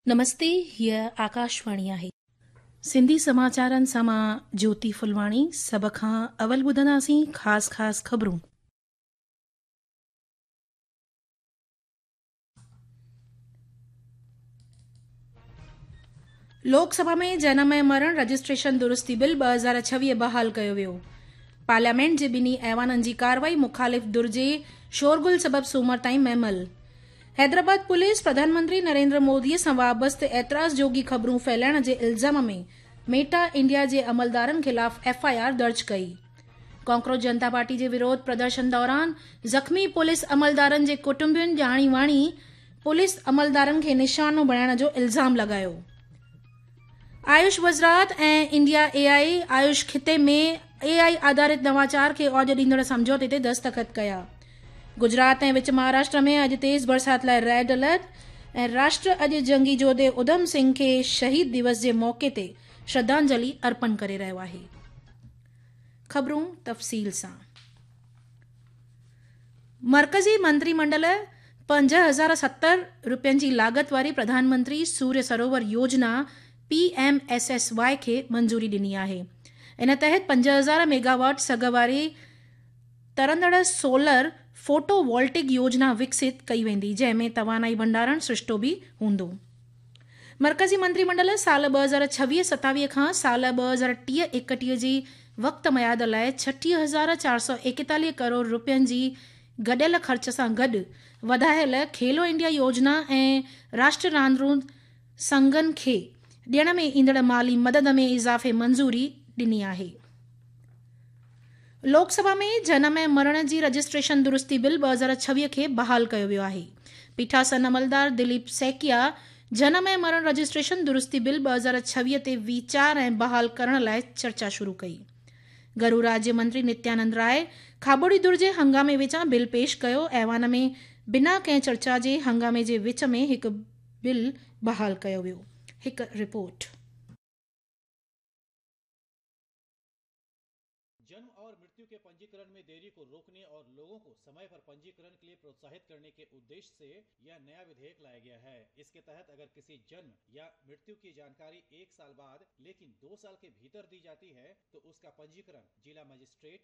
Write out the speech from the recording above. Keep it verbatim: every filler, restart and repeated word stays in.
نمستي، هيء آڪاشواڻي آهي. سنڌي سماچارن سان مان جوتي ڦلواڻي. سڀ کان اول ٻڌنداسين خاص خاص خبرون. لوڪ سڀا ۾ جنم ۽ مرڻ رجسٽريشن درستي بل ٻه هزار ڇويهه بحال ڪيو ويو. پارليامينٽ جي ٻنهي ايوانن جي ڪارروائي مخالف ڌر جي شورغل سبب سومر تائين مهمل. حيدرآباد پوليس پرڌان منتري نريندر مودي سان وابسته اعتراض جوڳي خبرون ڦهلائڻ جي الزام ۾ ميٽا انڊيا جي عملدارن خلاف ايف I R درج ڪئي. ڪاڪروچ جنتا پارٽي جي وروڌ پردرشن دوران زخمي پوليس عملدارن جي ڪٽنبن ڄاڻي واڻي پوليس عملدارن کي نشانو بڻائڻ جو الزام لڳايو. آيوش وزارت ۽ انڊيا اي آء آيوش خطي ۾ اي آء آڌارت نواچار کي اوج ڏيندڙ سمجهوتي تي دستخط ڪيا. گجرات ۽ وچ مهاراشٽر ۾ اڄ تيز برسات لاء ريڊ الرٽ ۽ راشٽر اڄ جنگي جوڌي اڌم سنگهه کي شهيد دوس جي موقعي تي شرڌانجلي ارپڻ ڪري رهيو آهي. خبرون تفصيل سان. مرڪزي منتري منڊل پنج هزار ستر روپين جي لاڳت واري پرڌان منتري سوريه سروور يوجنا P M S S Y کي منظوري ڏني آهي. ان تحت پنج هزار ميگاواٽ سگهه واري ترندڙ سولر فوٽو وولٽڪ يوجنا وڪست ڪئي ويندي، جنهن ۾ توانائي ڀنڊارڻ سرشتو به هوندو. مرڪزي منتري منڊل سال ٻه هزار ڇويهه ستاويهه کان سال ٻه هزار ٽيهه ايڪٽيهه جي وقت ميعاد لاءِ ڇٽيهه هزار چار سؤ ايڪيتاليهه ڪروڙ روپين جي گڏيل خرچ سان گڏ وڌايل کيلو انڊيا يوجنا ۽ راشٽر راندون سنگهن کي ڏيڻ ۾ ايندڙ مالي مدد ۾ اضافي منظوري ڏني آهي. لوڪ سڀا ۾ جنم ۽ مرڻ جي رجسٽريشن درستي بل ٻه هزار ڇويهه کي بحال ڪيو ويو آهي. پيٺاسن عملدار دليپ سيڪيا جنم ۽ مرڻ رجسٽريشن درستي بل ٻه هزار ڇويهه تي ويچار ۽ بحال ڪرڻ لاءِ چرچا شروع ڪئي. گهرو راجيه منتري نتيانند راءِ کاٻوڙي ڌر جي هنگامي وچان بل پيش ڪيو. ايوان ۾ بنا ڪنهن چرچا جي هنگامي جي وچ ۾ هڪ بل بحال ڪيو ويو. هڪ رپورٽ. जन्म और मृत्यु के पंजीकरण में देरी को रोकने और लोगों को समय पर पंजीकरण के लिए प्रोत्साहित करने के उद्देश्य से यह नया विधेयक लाया गया है। इसके तहत अगर किसी जन्म या मृत्यु की जानकारी एक साल बाद लेकिन दो साल के भीतर दी जाती है तो उसका पंजीकरण जिला मजिस्ट्रेट